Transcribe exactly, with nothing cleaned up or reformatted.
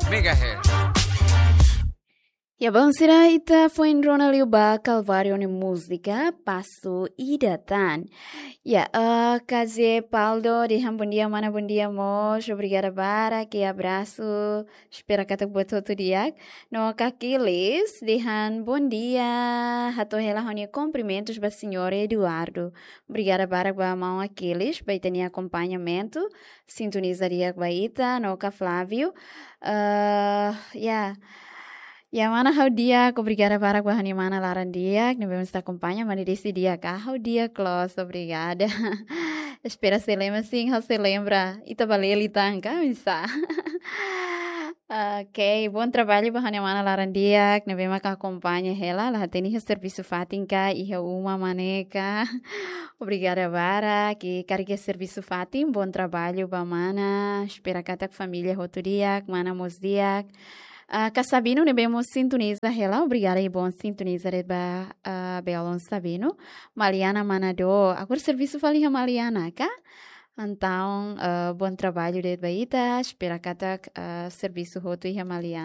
megahertz. Ya, bom, sira, ita foin rona liu ba Calvário nia múzika Pasu Ida Tan. Ya, eh, K J Paldo dehan bom dia, mana, bom dia mós. Obrigada barak, abrasu. Espera katak buat hotu di'ak. No Aquiles dehan bom dia. Hato'o hela ha'u-nia kumprimentus ba señór Eduardo. Obrigada barak ba maun Aquiles, ba ita-nia akompañamentu. Sintoniza di'ak ba ita, no K J Flávio. Eh, ya. Ya, mana, ha'u di'ak, obrigada barak ba ha'u-nia mana laran di'ak, ne'ebé mós akompaña, mana, desi di'ak ka, ha'u di'ak loos, obrigada. Espera sei lembra, sin, ha'u sei lembra. Ita bá leli tan ka, misa. Oke, bom trabalho ba ha'u-nia mana laran di'ak, ne'ebé mak akompaña hela, la hatene iha servisu fatin ka, iha uma mak ne'e ka. Obrigada barak, i karik iha servisu fatin, bom trabalho ba mana. Espera katak família hotu di'ak, mana mós di'ak. Ah, K Sabino ne'ebé mós sintoniza hela, obrigada i bom sintoniza de'it ba, ah, Belon Sabino. Maliana Manado, agora servisu fali iha Maliana ka? Entaun, ah, bom trabalho de'it ba ita, espera katak, ah, servisu hotu iha Maliana.